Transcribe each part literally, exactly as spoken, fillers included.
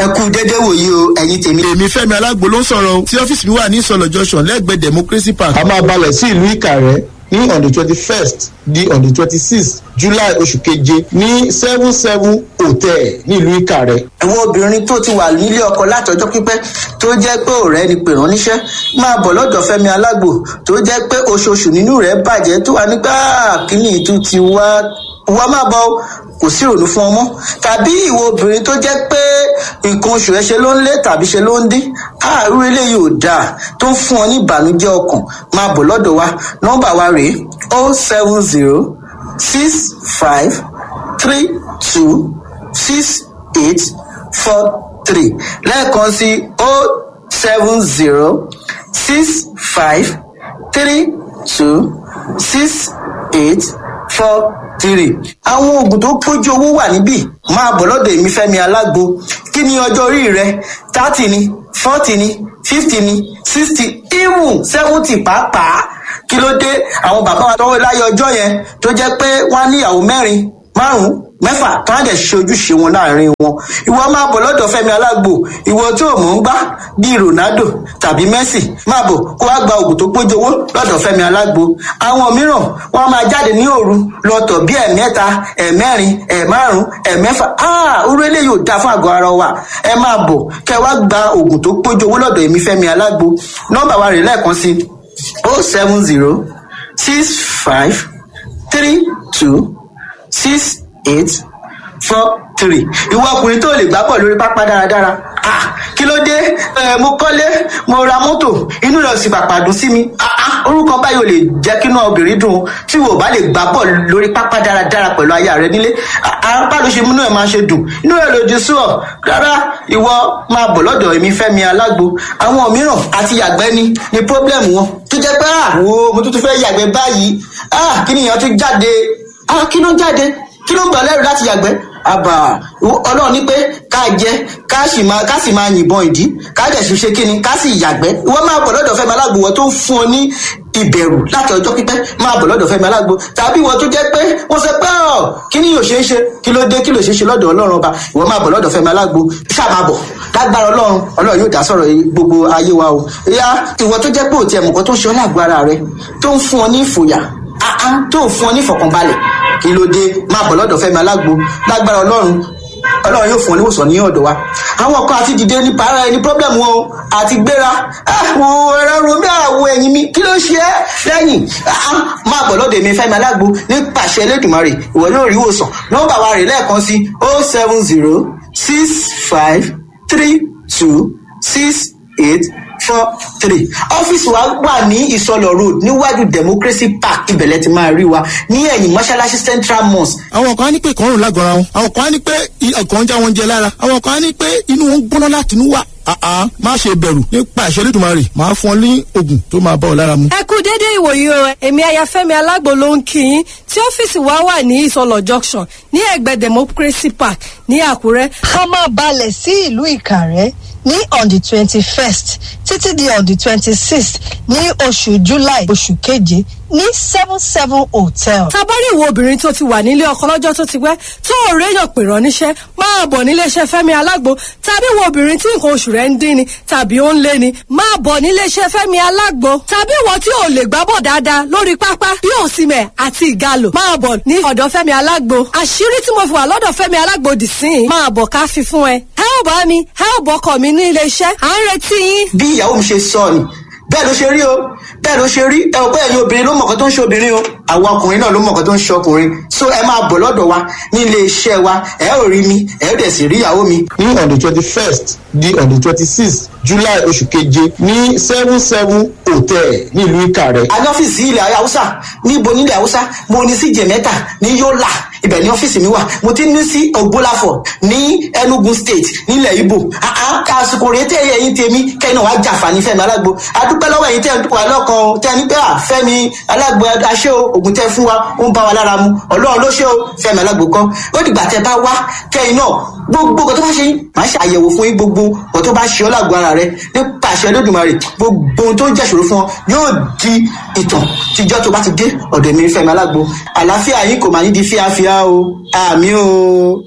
Ẹ kú dédé wòyí o, ẹ̀yin tèmi. Èmi Fẹ́mi Alágbo ló ń sọ̀rọ̀ o, tí ọ́fíìsì mi wà ní Ìsọ̀lọ̀ Junction lẹ́gbẹ̀ẹ́ Democracy Park. A máa balẹ̀ sí ìlú Ìkàrẹ́ ní on the twenty first di on the twenty sixth July oṣù keje ní seven seven hotel ní ìlú Ìkàrẹ́. Àwọn obìnrin tó ti wà nílé ọkọ látọjọ́ pípẹ́ tó jẹ́ pé ọ̀rẹ́ ni pè ránníṣẹ́ máa bọ̀ lọ́dọ̀ Fẹ́mi Alágbo, tó jẹ́ pé oṣooṣù nínú rẹ̀ bàjẹ́ tó wà nígbà kíní ìtú ti wá wá máa bọ̀ kò sí ìrònú fún ọmọ, tàbí ìwọ obìnrin tó jẹ́ pé nǹkan oṣù ẹ ṣe ló ń lé tàbí ṣe ló ń dín, àárú eléyìí ò dáa tó ń fún ọ ní ìbànújẹ́ ọkàn, máa bọ̀ lọ́dọ̀ wa. Nọ́mbà wa rèé: o seven zero six five three two six eight four three. Lẹ́ẹ̀kan sí: o seven zero six five three two six eight four three. Àwọn oògùn tó pójú owó wà níbí. Máa bọ̀ lọ́dọ̀ èmi Fẹ́mi Alágbo. Kí ni ọjọ́ orí rẹ? Thirty ni, forty ni, fifty ni, sixty, even seventy pàápàá. Kí ló dé? Àwọn bàbá wa tọwọ́ láyé ọjọ́ yẹn tó jẹ́ pé wọ́n á níyàwó mẹ́rin, márùn-ún, mẹ́fà, tó á dẹ̀ ṣe ojúṣe wọn láàrin wọn. Ìwọ máa bọ̀ lọ́dọ̀ Fẹ́mi Alágbo. Ìwọ tó mọ̀ ń gbá bíi Ronaldo tàbí Messi, máa bọ̀ kó wá gba oògùn tó pójú owó lọ́dọ̀ Fẹ́mi Alágbo. Àwọn mìíràn wọ́n máa jáde ní òru lọ́tọ̀ bí ẹ̀mẹ́ta, ẹ̀mẹ́rin, ẹ̀márùn, ẹ̀mẹ́fà. Orú eléyìí ò dáa fún àgọ́ ara wa. Ẹ máa bọ̀ kẹ́ wá gba oògùn tó pójú owó lọ́dọ̀ èmi Fẹ́mi Alágbo. Nọ́mbà wa rè lẹ́ẹ̀kan sí: o seven zero six five three two six eight four three. Ìwọ ọkùnrin tó lè gbá bọ̀ lórí pápá dáradára, ah, kí ló dé? Ẹ mo kọ́lé, mo ra mọ́tò, inú rẹ̀ sì pàpà dùn sí mi. Ah ah, orúkọ báyìí ò lè jẹ́ kí inú obìnrin dùn tí wò bá lè gbá bọ̀ lórí pápá dáradára pẹ̀lú aya rẹ nílé. Apá ló ṣe múnú ẹ̀ máa ṣe dùn, inú rẹ̀ lòdì sí ọ rárá. Ìwọ máa bọ̀ lọ́dọ̀ èmi Fẹ́mi Alágbo. Àwọn mìíràn àti yàgbẹ́ ni ni problem wọn, tó jẹ́ pé ah, wo, mo tún tún fẹ́ yàgbẹ́ báyìí. Ah, kí nìyẹn tún jáde? Ah, kí ló ń jáde? Kí ló ń gbà lẹ́rù láti yàgbẹ́? Àbà ọlọ́run ní pé ká jẹ, ká sì máa ká sì máa yìnbọn ìdí, ká dẹ̀ sì ṣe kíni, ká sì yàgbẹ́. Ìwọ máa bọ̀ lọ́dọ̀ Fẹ́mi Alágbo. Wọ́n tó ń fún ọ ní ìbẹ̀rù láti ọjọ́ pípẹ́, máa bọ̀ lọ́dọ̀ Fẹ́mi Alágbo. Tàbí ìwọ tó jẹ́ pé wọ́n sọ pé ọ̀ kí ni yóò ṣe é ṣe, kí ló dé? Kí ló ṣe é ṣe lọ́dọ̀ ọlọ́run ọba? Ìwọ máa bọ̀ lọ́dọ̀ Fẹ́mi Alágbo, ṣáà máa bọ̀. Lágbára ọlọ́run, ọlọ́run yóò dá sọ̀rọ̀ gbogbo ayé wa o. Ìyá ìwọ tó jẹ́ pé òtí ẹ̀mùkọ́ tó ń ṣe ọ́ lágbo ara rẹ, tó ń fún ọ ní ìfòyà, tó ń fún ọ ní ìfọ̀kànbalẹ̀, kí ló dé? Máa bọ̀ lọ́dọ̀ Fẹ́mi Alágbo. Lágbára ọlọ́run, ọlọ́run yóò fún ọ níwòsàn ní ọ̀dọ̀ wa. Àwọn kan àti dìde ní para ẹni problem wọn o, àti gbéra àwọn ẹ̀rọ romi, àwọ̀ ẹ̀yìn mi, kí ló ṣe é lẹ́yìn? Máa bọ̀ lọ́dọ̀ èmi Fẹ́mi Alágbo. Nípasẹ̀ Elédùmarè, ìwọ yóò rí ìwòsàn. Nọ́mbà wa rè lẹ́ẹ̀kan sí: o seven zero six five three two six eight four three. Ọ́fíìsì wa wà ní Ìsọlọ̀ Road, níwájú Democracy Park. Ibẹ̀lẹ̀ ti máa rí wa ní ẹ̀yìn mọ́ṣáláṣí Central Mosque. Àwọn kan á ní pé ìkọrùn lágọ̀ọ́ra wọn, àwọn kan á ní pé ọkàn ń já wọn jẹ lára, àwọn kan á ní pé inú wọn ń gbóná láti inú wà. Àá, má ṣe bẹ̀rù. Nípa ìṣẹ́ Olódùmarè, máa fún ọ ní oògùn tó máa bá ọ lára mu. Ẹ kú dédé ìwòyí o. Èmi Ayafẹ́mi Alágbo ló ń kí yín, tí ọ́fíìsì wa wà ní Ìsọlọ̀ Junction ní ẹ̀gbẹ́ Democracy Park ní Àkúrẹ́. A máa balẹ̀ sí ìlú Ìkàrẹ́ ní on the twenty first títí di on the twenty sixth ní oṣù July oṣù keje ní seven seven hotel. Tabari ìwọ obìnrin tó ti wà nílé ọkọ lọ́jọ́ tó ti pẹ́, tó ò réyàn pè rán níṣẹ́, máa bọ̀ níléeṣẹ́ Fẹ́mi Alágbo. Tàbí ìwọ obìnrin tí nǹkan oṣù rẹ̀ ń dín ni tàbí ó ń lé ni, máa bọ̀ níléeṣẹ́ Fẹ́mi Alágbo. Tàbí ìwọ tí ò lè gbábọ̀ dáadáa lórí pápá bí Òsìmẹ̀ àti Ìgalò, máa bọ̀ ní ọ̀dọ̀ Fẹ́mi Alágbo. Àṣírí tí mo fi wà lọ́dọ̀ Fẹ́mi Alágbo dì sí i, máa bọ̀ ká fi fún ẹ. Ẹ ò bá mi, ẹ ò bọ́kọ̀ mi ní iléeṣẹ́, à ń retí yín. Bí ìyàwó mi ṣe sọ ni, bẹ́ẹ̀ ló ṣe rí o, bẹ́ẹ̀ ló ṣe rí. Ẹ ò bẹ́ẹ̀ ni, obìnrin ló mọ̀kàn tó ń ṣe obìnrin o, àwọn ọkùnrin náà ló mọ̀kàn tó ń ṣe ọkùnrin. So ẹ máa bọ̀ lọ́dọ̀ wa ní ilé iṣẹ́ wa. Ẹ ò rí mi, ẹ ò dẹ̀ sì rí ìyàwó mi. Ní on the twenty first di on the twenty sixth July oṣù keje ní seven seven hotel ní ìlú Ìkàrẹ́. A ní ọ́fíìsì ilẹ̀ Haúsá. Níbo nílẹ̀ Haúsá? Mo ní sí Jẹ̀mẹ́ta ní Yólà, ibẹ̀ ní ọ́fíìsì mi wà. Mo ti ní sí Ògbólàfọ̀ ní Enugu State nílẹ̀ Ibo. Àsìkò rèé tẹ́ ẹ̀yin tèmi kẹ́yìn náà wàá jàǹfààní Fẹ́mi Alágbo. Adúpẹ́ lọ́wọ́ ẹ̀yin tẹ́ ẹ̀ wà lọ́kàn o, tẹ́ ẹ ní pé à Fẹ́mi Alágbo aṣẹ́ o, ògùn tẹ́ fún wa ó ń bá wa lára mu. Ọlọ́run ló ṣe o, Fẹ́mi Alágbo kọ́. Ó dìgbà tẹ́ bá wá kẹ́yìn náà, gbogbo nǹkan tó bá ṣe yín, màá ṣe àyẹ̀wò fún yín. Gbogbo nǹkan tó bá ṣe ọ́ lágbo ara rẹ, nípa àṣẹ Olódùmarè, gbogbo ohun tó ń jẹ́ ìṣòro fún ọ yóò di ìtàn tíjọ́ tó bá ti dé ọ̀dọ̀ mi Fẹ́mi Alágbo. Àlàáfíà yín kò máa ní di fíafíà o. Àmì o.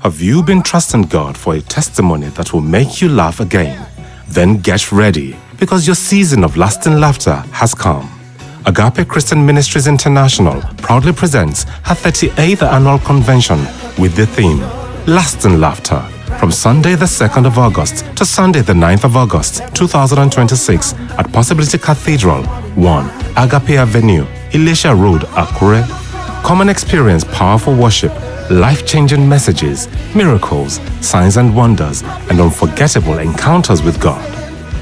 Have you been trusting God for a testimony that will make you laugh again? Then get ready, because your season of lasting laughter has come. Agape Christian Ministries International proudly presents her thirty-eighth annual convention with the theme Lasting Laughter, from Sunday the second of August to Sunday the ninth of August twenty twenty-six at Possibility Cathedral, one Agape Avenue, Elisha Road, Akure. Come and experience powerful worship, life-changing messages, miracles, signs and wonders, and unforgettable encounters with God.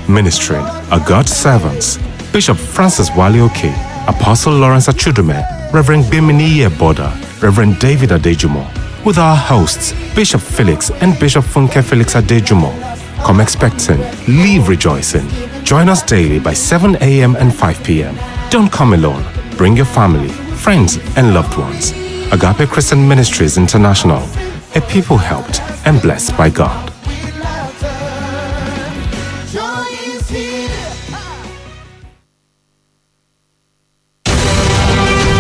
Ministering are God's servants, Bishop Francis Walioke, Apostle Lawrence Achudume, Reverend Bimini Boda, Reverend David Adejumo, with our hosts, Bishop Felix and Bishop Funke Felix Adejumo. Come expecting, leave rejoicing. Join us daily by seven a.m. and five p.m. Don't come alone. Bring your family, friends, and loved ones. Agape Christian Ministries International, a people helped and blessed by God.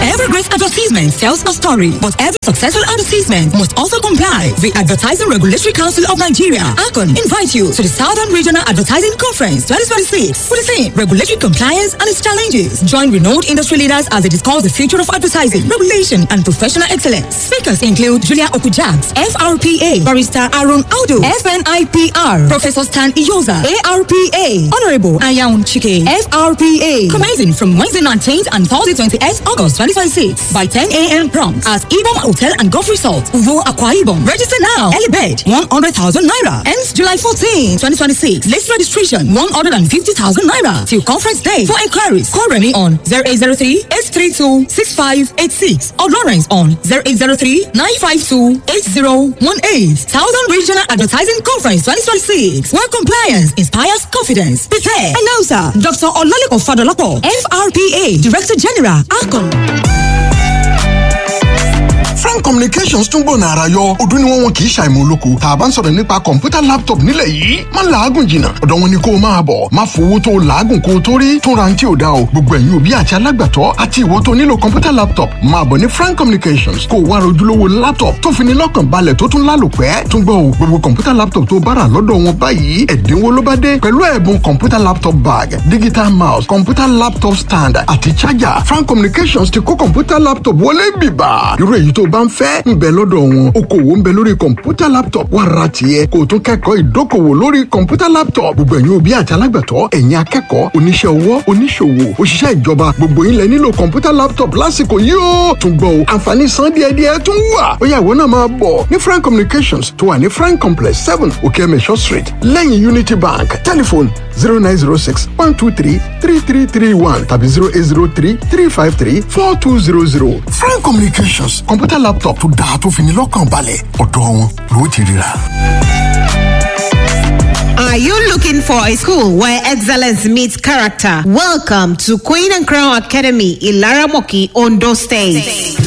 Every great advertisement tells a story, but every successful advertisement must also comply. The Advertising Regulatory Council of Nigeria, ACON, invite you to the Southern Regional Advertising Conference twenty twenty-six with the theme Regulatory Compliance and its Challenges. Join renowned industry leaders as they discuss the future of advertising, regulation, and professional excellence. Speakers include Julia Okujaks, F R P A, Barrister Aaron Audu, F N I P R, Professor Stan Iyoza, A R P A, Honorable Ayaun Chike, F R P A. Commencing from Wednesday nineteenth and Thursday twenty-eighth August twenty twenty-six by ten a.m. prompt at Ibom Hotel and Golf Resort, Uvo, Akwa Ibom. Register now. Early bird, one hundred thousand naira. Ends July fourteenth, twenty twenty-six. Late registration, one hundred fifty thousand naira. Till conference day. For inquiries, call Remy on zero eight zero three, eight three two, six five eight six or Lawrence on zero eight zero three, nine five two, eight zero one eight. Southern Regional Advertising Conference twenty twenty-six. Where compliance inspires confidence. Prepare. Announcer, Doctor Olalekan Fadolapo, F R P A, Director General, ACON. Frank Communications tún gbọ̀nà àrà yọ. Ọdún ni wọ́n wọn kì í ṣàìmọ̀ olóko. Tá a bá ń sọ̀rọ̀ nípa kọ̀ǹpútà laptop nílẹ̀ yìí, má làágùn jìnnà. Ọ̀dọ̀ wọn ni kó o máa bọ̀. Má fowó tó o làágùn kó o tó rí. Tún ra ti ò dá o. Gbogbo ẹ̀yin òbí àti alágbàtọ́ àti ìwọ tó nílò kọ̀ǹpútà laptop máa bọ̀ ní Frank Communications kó o wá rojúlówó laptop tó fi ní lọ́kàn balẹ̀ tó tún lálòpẹ́. Tún gbọ́ o, gbogbo kọ̀ǹpútà laptop tó bára lọ́dọ̀ wọn báyìí, ẹ̀dínwó ló bá dé pẹ̀lú ẹ̀bùn kọ̀ǹpútà laptop bag, digital mouse, kọ̀ǹpútà laptop stand àti charger. Frank Communications ti kó kọ̀ǹpútà laptop wọlé bìbà. Irú èyí tó bá ń fẹ́ ń bẹ lọ́dọ̀ wọn. Okòwò ń bẹ lórí kọ̀ǹpútà laptop, wà ra tiẹ̀ kó o tún kẹ́kọ̀ọ́ ìdókòwò lórí kọ̀ǹpútà laptop. Gbogbo ẹ̀yin òbí àti alágbàtọ́, ẹ̀yin akẹ́kọ̀ọ́, oníṣẹ́ ọwọ́, oníṣòwò, òṣìṣẹ́ ìjọba, gbogbo yín lẹ nílò kọ̀ǹpútà laptop lásìkò yìí ó. Tún gbọ́ o, àǹfààní san díẹ̀díẹ̀ tún wà. Ó yá, ìwọ náà máa bọ̀ ní Frank Communications tó wà ní Frank Complex seven Okeemesho Street lẹ́yìn Unity Bank. Telephone zero nine zero six one two three three three three one tàbí zero eight zero three three five three four two zero zero. Frank Communications, kọ̀ǹpútà laptop tó dáa tó fi ní lọ́kàn balẹ̀, ọ̀dọ̀ wọn ló ti ríra. Are you looking for a school where excellence meets character? Welcome to Queen and Crown Academy, Ilaramoki, Ondo State.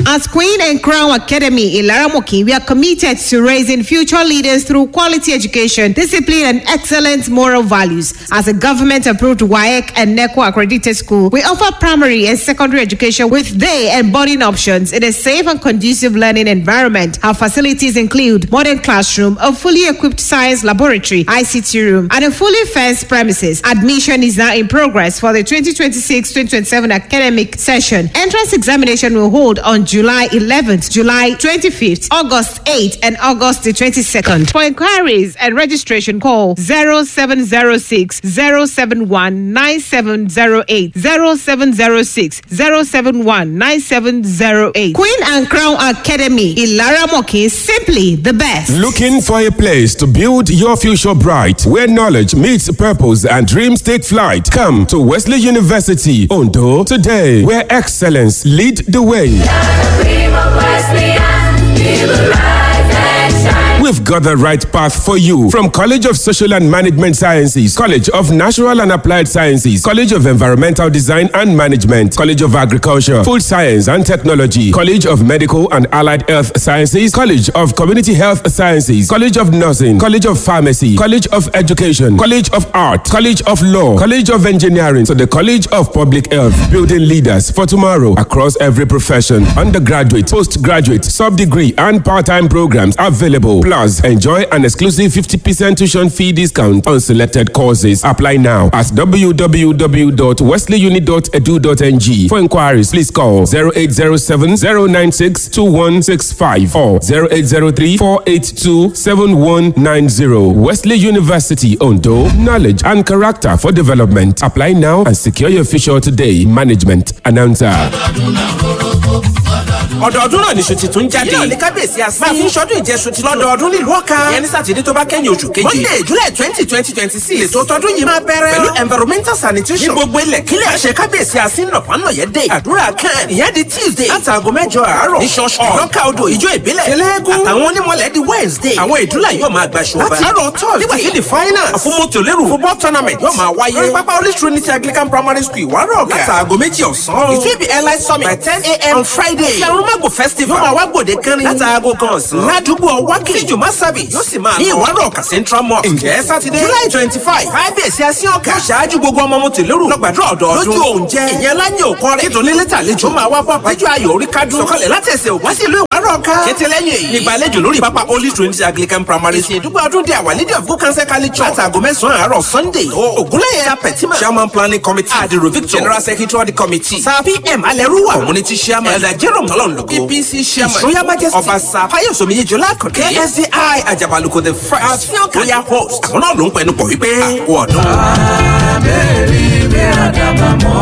At Queen and Crown Academy in Laramoki, we are committed to raising future leaders through quality education, discipline, and excellent moral values. As a government-approved W A E C and NECO accredited school, we offer primary and secondary education with day and boarding options in a safe and conducive learning environment. Our facilities include modern classroom, a fully equipped science laboratory, I C T room, and a fully fenced premises. Admission is now in progress for the twenty twenty-six twenty twenty-seven academic session. Entrance examination will hold on July eleventh, July twenty-fifth, August eighth, and August the twenty-second. For inquiries and registration, call zero seven zero six, zero seven one, nine seven zero eight, zero seven zero six, zero seven one, nine seven zero eight. Queen and Crown Academy, Ilaramoki, simply the best. Looking for a place to build your future bright, where knowledge meets purpose and dreams take flight? Come to Wesley University, Ondo, today, where excellence lead the way. We've got got the right path for you. From College of Social and Management Sciences, College of Natural and Applied Sciences, College of Environmental Design and Management, College of Agriculture, Food Science and Technology, College of Medical and Allied Health Sciences, College of Community Health Sciences, College of Nursing, College of Pharmacy, College of Education, College of Art, College of Law, College of Engineering, to the College of Public Health, building leaders for tomorrow across every profession. Undergraduate, postgraduate, sub-degree and part-time programs available. Plus, enjoy an exclusive fifty percent tuition fee discount on selected courses. Apply now at w w w dot wesley uni dot edu dot n g. For inquiries, please call zero eight zero seven, zero nine six, two one six five or zero eight zero three, four eight two, seven one nine zero. Wesley University, Ondo. Knowledge and character for development. Apply now and secure your future today. Management announcer. Ọdọọdún náà ní ṣùtì tún jáde. Yíyọ ní kábíyèsí àsín. Máa fi ń ṣọdún ìjẹsùn ti lọ́dọọdún nílùú Ọ̀ka. Ìyẹn ní Sátidé tó bá kẹ́yìn oṣù keje. Monday July twenty twenty twenty six. Ètò tọdún yìí máa bẹ̀rẹ̀. Pẹ̀lú environmental sanitation. Ní gbogbo ilẹ̀ kílẹ̀. Àṣẹ kábíyèsí àsín nọ̀pánọ̀yẹ́ dé. Àdúrà kan. Ìyẹn di Tuesday. Látàgọ́ mẹ́jọ àárọ̀. Ní ṣọ́ọ̀ṣì. Lọ́kà odò ìjọ ìbílẹ̀. Tẹlẹ́gùn. Àtàwọn onímọ̀lẹ̀ di Wednesday. Àwọn ìdúrà yóò máa gbaṣọ ọba. Láti àárọ̀ Thursday. Nígbà tí the finals. Àfọmọ́tò lérò. Football tournament yóò máa wáyé. Lórí pápá Holy Trinity Anglican Primary School Ìwárọ̀ Ọ̀kà. Látàgọ́ méjì ọ̀sán. It will be airline summit by ten a.m. on Friday. Ṣàrùmágò festival yóò máa wá gbòde kánrin látàgò kan ọ̀sán ládùúgbò ọwákì tíjùmọ̀ service yóò sì máa ní Ìwárọ̀ Ọ̀kà Central Mosque. Ǹjẹ́ Sátidé July twenty five kábíyèsí asín ọ̀kà ṣáájú gbogbo ọmọ mọ̀tòlérò lọ́gbàdúrà ọ̀dọ́ọdún lójú oúnjẹ ìyẹn láyé òkọ rẹ̀ nítorí lẹ́tà àlejò máa wá bọ́ àpájọ ayò orí kádùn sọ̀kalẹ̀ láti ẹsẹ̀ ògùn sí ìlú Ìwárọ̀ Ọ̀kà kété lẹ́yìn èyí nígbàlejò lórí pápá Holy Trinity Anglican Primary School ìdúgbò ọdún dé Our Lady of Good Counsel Catholic Church látàgò mẹ́sàn-án àárọ̀ Sunday Ògúnlẹ̀yẹ Sapetima Chairman Planning Committee Adiro Victor General Secretary of the Committee Sir P M Alẹ́rúwà Community Chairman Elder Jerome Tọ́lọ́nlógo E P C Chairman His Royal Majesty Ọba Sir Fáyọ̀sọ̀mí Yejọlá Àkàndé K S D I Àjàbálùkò the first àfihàn royal host àwọn náà ló ń pẹnu pọ̀ wípé àkó ọdún. Abẹ́rẹ́ bí àdàbà mọ́.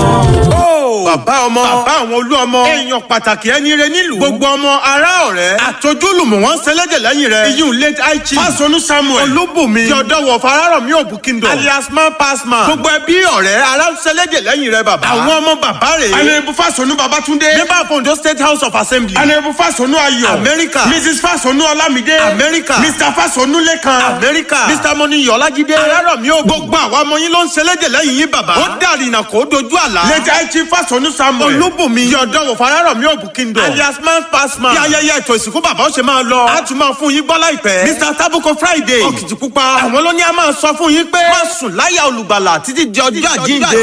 Bàbá ọmọ bàbá àwọn olú ọmọ èèyàn pàtàkì ẹni rẹ nílùú gbogbo ọmọ ará ọ̀rẹ́ àtọ́júlùmọ̀ wọn sẹlẹ̀dẹ̀ lẹ́yìn rẹ iyún late aichi Fásọnù Samuel Olúbùnmi yọ̀dọ̀wọ̀ Fararọ̀mí Òbú Kingdom alias man pass man gbogbo ẹbí ọ̀rẹ́ ará sẹlẹ̀dẹ̀ lẹ́yìn rẹ bàbá àwọn ọmọ bàbá rẹ̀ Honourable Fásọnù Babátúndé member of Ondo State House of Assembly Honourable Fásọnù Ayọ̀ Amẹ́ríkà Missus Fásọnù Ọlámídé Amẹ́ríkà Mister Fásọnù Lékan Amẹ́ríkà Mister Mọ́níyọ̀ Ọlájídé Arárọ̀mí Òbú gbogbo àwọn ọmọ yín ló ń sẹlẹ̀dẹ̀ lẹ́yìn yín bàbá ó dàrínà kó dojú àlá late aichi Fásọnù Samuel Olúbùnmi yọ̀dọ̀wọ̀ Fararọ̀mí Òbú Kingdom alias man pass man bí ayẹyẹ ètò ìsìnkú bàbá ó ṣe máa lọ a tún máa fún yín gbọ́ láìpẹ́ Mister Tabuko Friday Òkìtìpupa àwọn ló ní a máa sọ fún yín pé má sùn láyà olùgbàlà títí di ọjọ́ àjíǹde.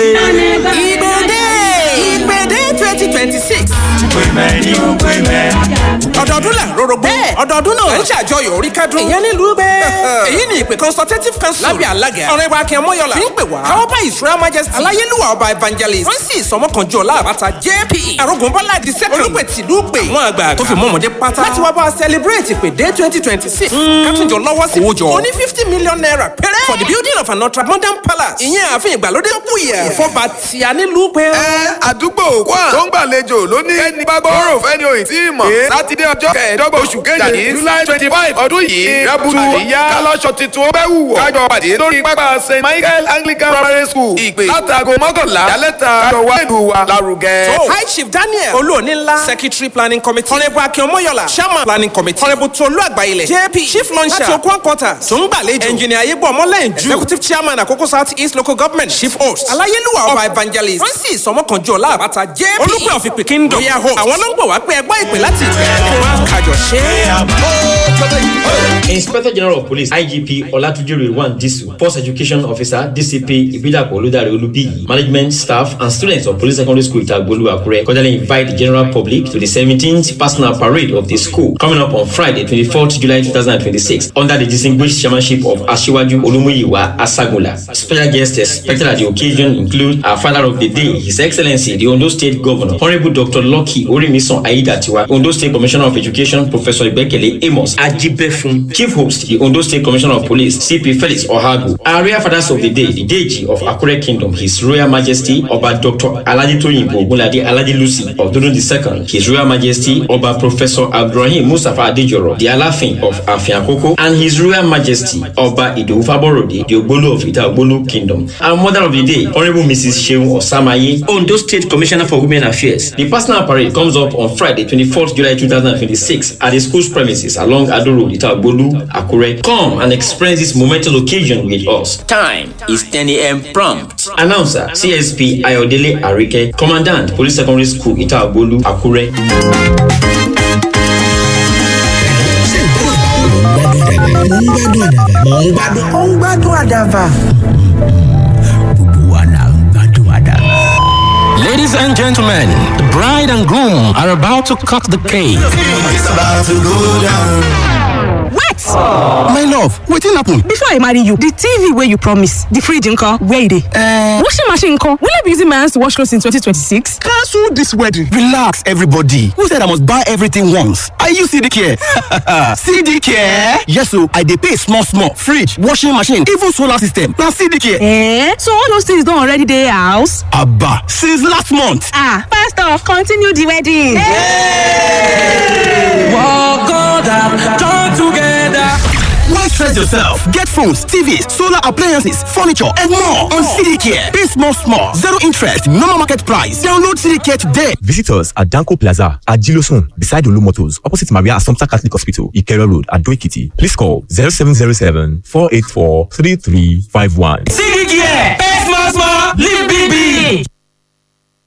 Ìgbèdé Ìgbèdé twenty twenty six. Ọdọọdún là ń rorogbo. Bẹ́ẹ̀ ọdọọdún náà ń ṣàjọyọ̀ orí kádùn. Ìyẹn nílùú bẹ́ẹ̀. Èyí ni ìpè consultative council. Lábẹ́ alága. Ọ̀rẹ́ wa Akin Ọmọyọlá. Fi ń pè wá. Káwọ́ bá His Royal Majesty. Aláyélúwà ọba evangelist. Francis Ọmọkànjú Ọlá Àbáta J P. Arógunbọ́lá the second. Olùpẹ̀ tìlú pè. Àwọn àgbà tó fi mọ́ ọmọdé pátá. Láti wá bá a celebrate ìpèdé twenty twenty six. Kátúnjọ lọ́wọ́ sí. Owó jọ. Ó ní fifty million naira péré. For the building of an ultra modern palace. Ìyẹn ààfin ìgbàlódé tó kù yẹ. Ìfọ̀bà tí a nílùú pé. Ẹ àdúgbò kwá tó ń gbàlejò lónìí. Ẹni bá gbọ́rọ̀ fẹ́ni òyìn tí ì mọ̀. Sátidé ọjọ́ kẹẹ̀ẹ́dọ́gbọ̀n oṣù keje July twenty five ọdún yìí. Rẹ́bùtù àríyá kálọ́ṣọ tuntun ó bẹ́ wù wọ̀. Kájọ pàdé lórí pápá Saint Michael Anglican Primary School. Ìpè látago mọ́kànlá yálẹ́ta kájọ wá ìlú wa lárugẹ. So, High Chief Daniel Olúonílá Secretary Planning Committee Honourable Akin Ọmọyọlá Chairman Planning Committee Honourable Tolú Àgbáyilẹ̀ J P Chief Launcher láti Okun Quarters tó ń gbàlejò Engineer Ayégbò Ọmọlẹ́yìn Jù Executive Chairman Àkókò South East Local Government Chief Host Aláyélúwà Ọba Evangelist Francis Ọmọkànjú Ọlá Àbáta J P Olùpẹ̀ of Ìpè Kingdom Royal Host àwọn ló ń pè wá pé ẹgbọ́ ìpè láti ìpè kájọ ṣe. Inspector General of Police I G P Olatunji Rilwan Disu, Force Education Officer D C P Ibidapo Oludare Olubiyi, management staff and students of Police Secondary School Itagbolu Akure cordially invite the general public to the seventeenth personal parade of the school coming up on Friday, twenty-fourth July twenty twenty-six, under the distinguished chairmanship of Asiwaju Olumuyiwa Asagunla. Special guests expected at the occasion include our father of the day, His Excellency the Ondo State Governor, Honorable Doctor Lucky Orimisan Aiyedatiwa, Ondo State Commissioner of Education, Professor Ibekele Amos Ajibefun, Chief Host, the Ondo State Commissioner of Police, C P Felix Ohagu. Our royal fathers of the day, the Deji of Akure Kingdom, His Royal Majesty Oba Doctor Alhaji Toyinbo Ogunlade Alhaji Lucy of Dodun the Second, His Royal Majesty Oba Professor Abdulrahim Mustafa Adejoro, the Alaafin of Afin Akoko, and His Royal Majesty Oba Idowu Faborode, the Ogbolu of Ita Ogbolu Kingdom. Our mother of the day, Honorable Missus Seun Osamaye, Ondo State Commissioner for Women Affairs. The personal parade comes up on Friday, twenty-fourth July twenty twenty-six twenty-six at the school's premises along Ado Road, Itagbolu, Akure. Come and experience this momentous occasion with us. Time is ten a m prompt. Announcer C S P Ayodele Arike, Commandant, Police Secondary School, Itagbolu, Akure. Ó ń gbádùn àdàbà. Gbogbo wa là ń gbádùn àdàbà. Ladies and gentlemen, the bride and groom are about to cut the cake. It's about to go down. Wait! My love, wetin happen? Before I marry you, the T V wey you promise, the fridge nko, where e dey? Uh, washing machine nko, will I be using my hands to wash clothes in twenty twenty-six? Cancel this wedding. Relax, everybody. Who said I must buy everything once? Are you C D Care? C D Care? Yes, so I dey pay small, small. Fridge, washing machine, even solar system. Na C D Care. Eh? So all those things don already dey house? Abba, since last month. Ah, pastor, continue the wedding. Yay! Walk on down, join together. Why stress yourself? Get phones, T Vs, solar appliances, furniture, and more on C D Care. Pay small, small. Zero interest, normal market price. Download C D Care today. Visit us at Danko Plaza at Gilosun, beside Olu Motors, opposite Maria Assumpta Catholic Hospital, Ikero Road, at Doikiti. Please call zero seven zero seven, four eight four, three three five one. C D Care. Pay small, small. Live big, big.